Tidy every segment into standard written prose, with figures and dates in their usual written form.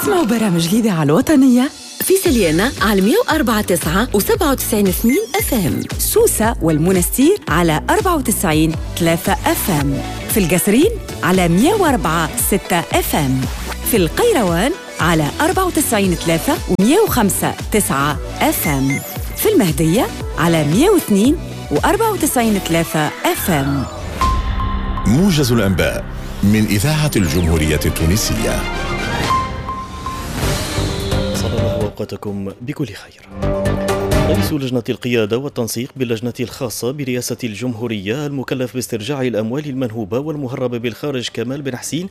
اسمعوا برامج الإذاعة الوطنية في سليانة على 104.9 و97.2 FM، سوسة والمنستير على 94.3 FM، في القصرين على 104.6 FM، في القيروان على 94.3 و105.9 FM، في المهدية على 102 و94.3 FM. موجز الأنباء من إذاعة الجمهورية التونسية. صلى الله أوقاتكم بكل خير. رئيس لجنة القيادة والتنسيق باللجنة الخاصة برئاسة الجمهورية المكلف باسترجاع الأموال المنهوبة والمهربة بالخارج كمال بن حسين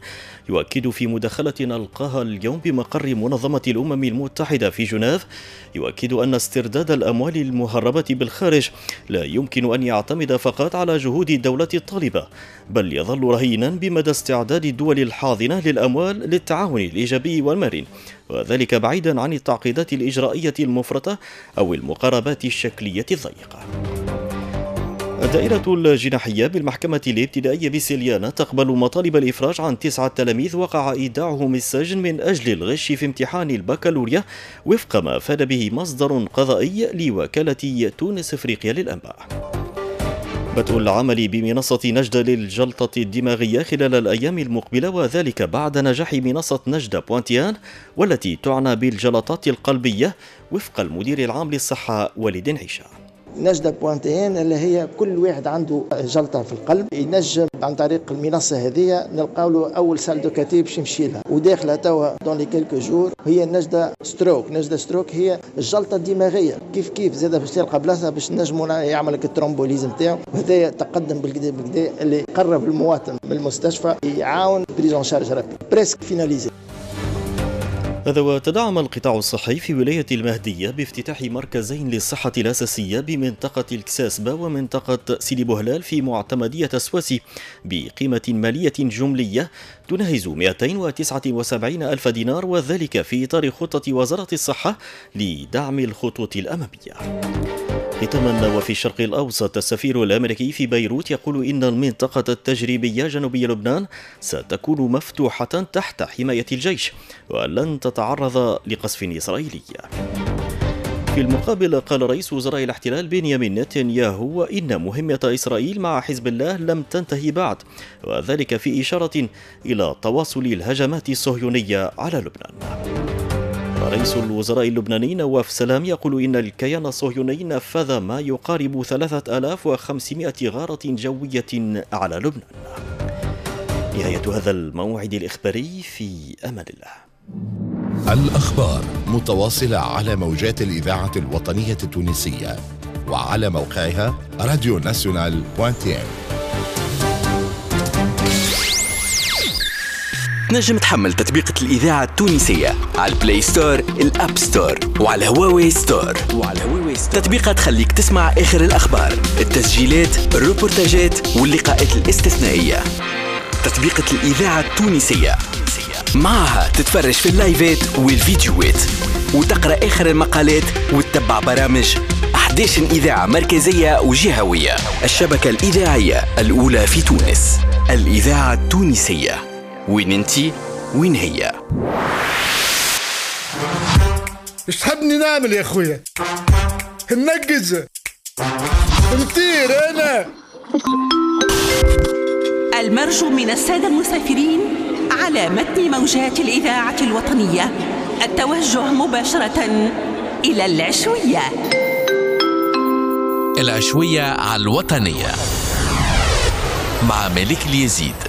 يؤكد في مداخلة ألقاها اليوم بمقر منظمة الأمم المتحدة في جنيف، يؤكد أن استرداد الأموال المهربة بالخارج لا يمكن أن يعتمد فقط على جهود الدولة الطالبة، بل يظل رهينا بمدى استعداد الدول الحاضنة للأموال للتعاون الإيجابي والمرن، وذلك بعيدا عن التعقيدات الإجرائية المفرطة أو المقاربات الشكلية الضيقة. الدائرة الجناحية بالمحكمة الابتدائية بسليانة تقبل مطالب الإفراج عن 9 تلاميذ وقع إيداعهم السجن من أجل الغش في امتحان البكالوريا، وفق ما أفاد به مصدر قضائي لوكالة تونس إفريقيا للأنباء. بدء العمل بمنصة نجدة للجلطة الدماغية خلال الأيام المقبلة، وذلك بعد نجاح منصة نجدة بوانتيان والتي تعنى بالجلطات القلبية، وفق المدير العام للصحة وليد عيشة. نجدة بوانتين اللي هي كل واحد عنده جلطة في القلب ينجم عن طريق المنصة هذه نلقاو له أول salle de cathé باش يمشي لها، وداخلة توا dans les quelques jours هي نجدة stroke. نجدة stroke هي الجلطة الدماغية، كيف كيف زادة باش تلقى بلاصة باش نجموا يعمل لك ال thrombolyse نتاعو، وهذا تقدم بالكدا بالكدا اللي قرب المواطن من المستشفى، يعاون prise en charge rapide presque finalisée. هذا وتدعم القطاع الصحي في ولاية المهدية بافتتاح مركزين للصحة الأساسية بمنطقة الكساسبة ومنطقة سيدي بوهلال في معتمدية السواسي بقيمة مالية جملية تناهز 279 ألف دينار، وذلك في إطار خطة وزارة الصحة لدعم الخطوط الأمامية. ختاما، وفي الشرق الأوسط، السفير الأمريكي في بيروت يقول إن المنطقة التجريبية جنوبي لبنان ستكون مفتوحة تحت حماية الجيش ولن تتعرض لقصف إسرائيلي. في المقابل، قال رئيس وزراء الاحتلال بنيامين نتنياهو إن مهمة إسرائيل مع حزب الله لم تنتهي بعد، وذلك في إشارة إلى تواصل الهجمات الصهيونية على لبنان. رئيس الوزراء اللبناني نواف سلام يقول إن الكيان الصهيوني نفذ ما يقارب 3500 غارة جوية على لبنان. نهاية هذا الموعد الإخباري، في أمان الله. الأخبار متواصلة على موجات الإذاعة الوطنية التونسية وعلى موقعها radio nationale point tn. تنجم تحمل تطبيقة الإذاعة التونسية على ال Play Store، ال App Store وعلى هواوي Store. تطبيقة تخليك تسمع آخر الأخبار، التسجيلات، الروبورتاجات واللقاءات الاستثنائية. تطبيقة الإذاعة التونسية معها تتفرج في اللايفات والفيديوهات وتقرأ آخر المقالات وتتبع برامج 11 إذاعة مركزية وجهوية. الشبكة الإذاعية الأولى في تونس، الإذاعة التونسية. وين انتي وين هي؟ ايش تحبني نعمل يا خويا؟ ننقز نطير انا. المرجو من السادة المسافرين على متن موجات الإذاعة الوطنية التوجه مباشرة إلى العشوية. العشوية على الوطنية مع ملك اليزيد.